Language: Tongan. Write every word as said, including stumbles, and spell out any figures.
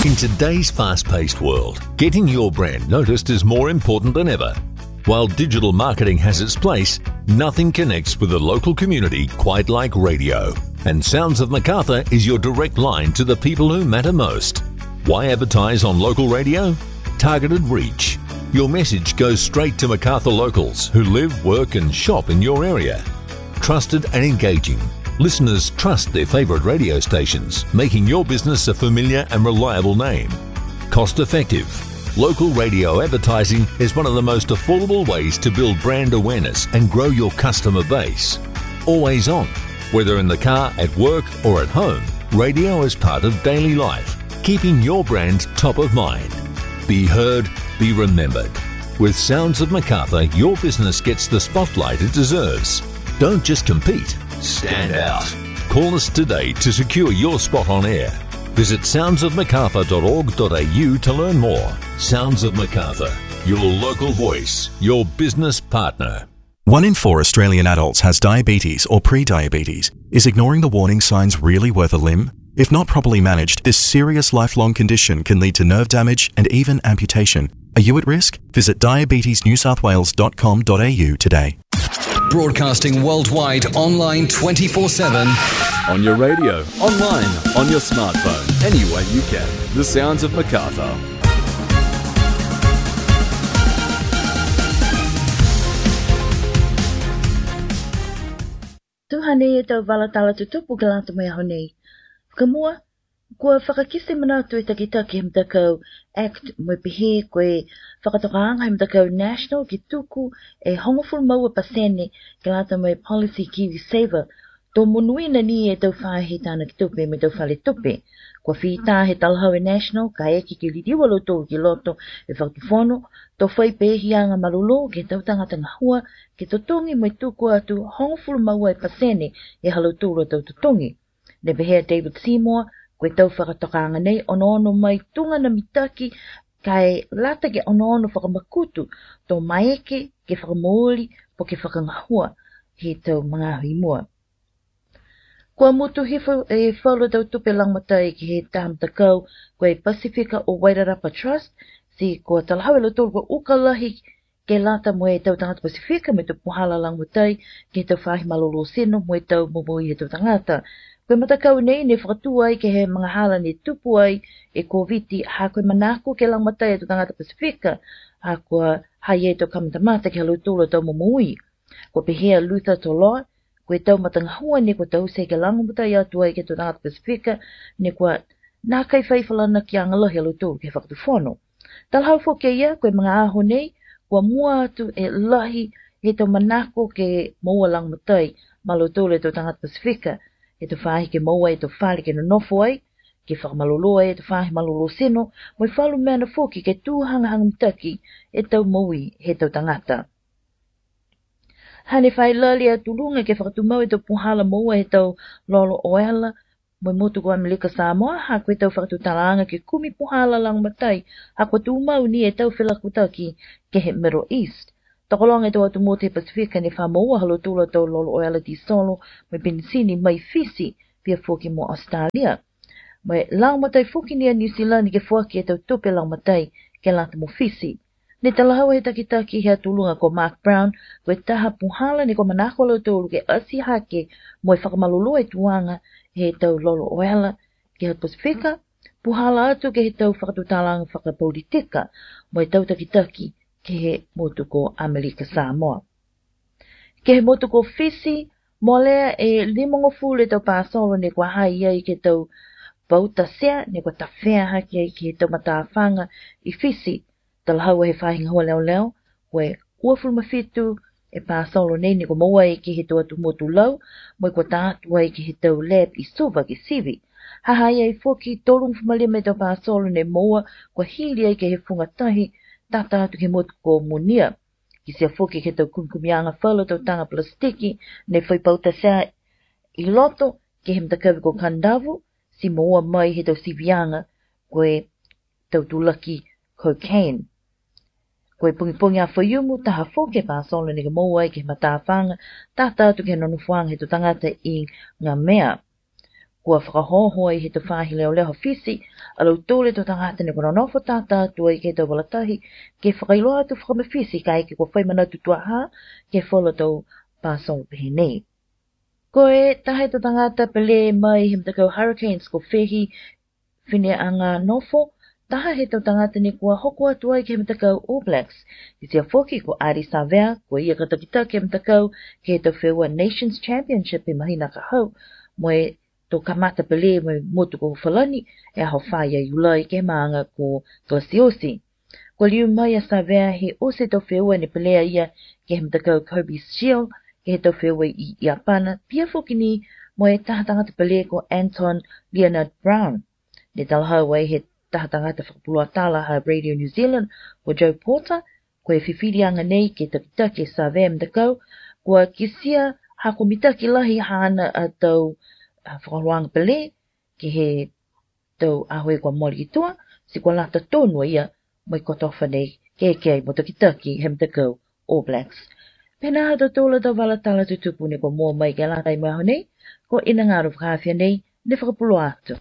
In today's fast-paced world, getting your brand noticed is more important than ever. While digital marketing has its place, nothing connects with a local community quite like radio. And Sounds of Macarthur is your direct line to the people who matter most. Why advertise on local radio? Targeted reach. Your message goes straight to Macarthur locals who live, work and shop in your area. Trusted and engaging. Listeners trust their favourite radio stations, making your business a familiar and reliable name. Cost effective. Local radio advertising is one of the most affordable ways to build brand awareness and grow your customer base. Always on. Whether in the car, at work or at home, radio is part of daily life, keeping your brand top of mind. Be heard, be remembered. With Sounds of Macarthur, your business gets the spotlight it deserves. Don't just compete, stand out. Call us today to secure your spot on air. Visit sounds of macarthur dot org dot A U to learn more. Sounds of Macarthur, your local voice, your business partner. One in four Australian adults has diabetes or pre-diabetes. Is ignoring the warning signs really worth a limb? If not properly managed, this serious lifelong condition can lead to nerve damage and even amputation. Are you at risk? Visit diabetes new south wales dot com dot A U today. Broadcasting worldwide, online twenty-four seven. On your radio, online, on your smartphone, any way you can. The Sounds of Macarthur. Tuʻu heni ʻetau vala tala tutupu ke lata mo e ʻaho ni. Fakamuʻa, kuo fakakite manatu e takitaki he matakau act mo e pehē ko e fakatokanga he matakau National ke tuku e hongofulu mā ua pasene ke lata mo e policy KiwiSaver. Tō monuina ni ʻetau faʻahi tānaki tupe mo ʻetau fale tupe. Kuo fita he talahau e National, kae ʻikai ke liliu ʻa lautolu ki loto e fakatufono, tō fai pē ʻi he anga mālōlō ke tau tangata ngahua, ke totongi mo e tuku atu hongofulu mā ua e pasene ʻe ha lautolu ʻa ʻetau totongi. Ne pehē ʻa David Seymour, ko ʻetau fakatokanga nei ʻoku onoono mai tuʻunga mitaki, kae lata ke onoono fakamakutu, tō maeke ke fakamoʻui, pe ko e fakangahua, he tau mangahimua. Kuo mutu hifo e falu ʻetau tupe lagomatai ki he taha matakau, ko e Pasifika ʻo Wairarapa Trust, siʻi kuo talahau ʻe lautolu kuo ʻuka lahi ke lata mo ʻetau tangata Pasifika mo ʻetau puhala lagomatai ki heʻetau faʻahi mālōlō sino mo ʻetau momoui heʻetau tangata. Ko e matakau nei ne fakatuʻu ai ki he angahala ne tupu ai e Kōviti, ha ko e manako ke lagomatai ʻetau tangata Pasifika, ha kuo ʻi ai ʻetau kamata mata ki ha lautolu ʻetau momoui. Kuo pehē ʻa Luther Toloa, ko ʻetau matangahua ne kuo tau sio ke lagomatai atu ai ki heʻetau tangata Pasifika, ne kuo nākai fai falanakiʻanga lahi ʻa lautolu ki he fakatufono. Talahau foki ʻe ia, ko e anga ʻaho nei, kuo mua atu e lahi heʻetau manako ke moua lagomatai maʻa lautolu ʻetau tangata Pasifika, ʻetau faʻahi ke moua ʻetau fale ke nonofo ai, ke fakamālōlō ai ʻetau faʻahi mālōlō sino, mo e falu meʻa foki ke tuʻu hangahanga mitaki ʻetau moʻui heʻetau tangata. Hane fai lali ʻa Tulunga ke fakatumau ʻetau puhala moua heʻetau lolo ʻoela mo e motu ko ʻAmelika Samoa, ha ko ʻetau fakatutalanga ke kumi puhala lagomatai, ha kuo tumau ni ʻetau felakutaki ki he Middle East. Tokolahi ʻetau ʻatu motu he Pasifika ne fakamoua ha lautolu ʻetau lolo ʻoela tīsolo mo e penisini mei Fisi, pea foki mo ʻAositelēlia. Mo e lagomatai foki ni ʻa New Zealand ke foaki ʻetau tupe lagomatai ke lata mo Fisi. Ne talahau ʻe he takitaki Hea Tulunga ko Mark Brown, ko e taha puhala ne kuo manako ʻa lautolu ke ʻasi hake mo e fakamālōlō e tuʻunga heʻetau lolo ʻoela ki he Pasifika, puhala atu ki heʻetau fakatutalanga fakapolitika mo ʻetau takitaki ki he motu ko ʻAmelika Samoa. Ki he motu ko Fisi, mole e limangofulu ʻetau pāsolo ne kuo hā ai ki heʻetau pauta sea, ne kuo tafea hake ai ki heʻetau matāfanga ʻi Fisi. Talahau ʻe he faʻahinga hoa leoleo, ko e uofulu mā fitu e pāsolo nei ne kuo moua ai ki heʻetau ʻatu motu lau, mo e kuo tā atu ai ki heʻetau lab ʻi Suva ki Sivi. Hā ai foki tolungofulu mā lima ʻetau pāsolo ne moua kuo hili ai ki he funga tahi, tata atu ki he motu ko Munia. Kiʻi ʻasi foki ki heʻetau kumikumiʻanga falu ʻetau tanga palasitiki ne fai pauta sea ʻi loto ki he matakavi ko Kandavu, siʻi moua mai heʻetau siviʻanga ko ʻetau tulaki cocaine. Ko e pongipongi ʻa Faiumu, taha foki e pāsolo ne kuo moua ai ki he matāfanga, tata atu ki he nonofoʻanga heʻetau tangata ʻi Ngamea. Kuo fakahoko ʻe he tau faahi leoleo ʻa Fisi ʻa e tolu ʻo e tangata ne kua nonofo tata atu ai ki he tau vala tahi, ke fakailoa atu fakamafiti kae ʻikai ke kua fai manatu tuʻa ha ke folo tau pāsongo pehē nei. Ko e taha ʻo e tau tangata pele mai he matakau Hurricanes ko Fehi Fineʻanganofo, taha ʻo e tau tangata ne kua hoko atu ai ki he matakau All Blacks. Kitia foki ko ʻAli Savea, ko ia ka takitaki e matakau ki he tau feua Nations Championship he māhina ka hau, mo e tau kamata pele mo e motu ko Falani, he ʻaho fā ʻo Iulai ki he māʻanga ko Kalasioti. Kua liu mai ʻa Savea he ʻosi e tau feua ne pele ai ia ki he matakau Kobe Shield, ki he tau feua ʻi ʻIapana, pea foki ni mo e taha tangata pele ko Anton Lienard-Brown. Ne talahau ai he taha tangata fakapuloa tala ʻa Radio New Zealand, ko Joe Porter, ko e fifiliʻanga nei ke takitaki ʻe Savea e matakau, kua kitia ha kua mitaki lahi haʻana ʻa e tau, ʻa, fakaholoʻanga pele, ki he tau ʻaho ʻe kua mole ki tuʻa, ti kua lata tonu ia mo e kotofa nei ke ke ai mo takitaki he matakau All Blacks. Pehē nai ʻa e tau tolu ʻo e tau vala tala tutupu ne kua mō mai ke lata ai mo e ʻaho nei, ko ʻena ngalo fakafia nei, ne fakapuloa atu.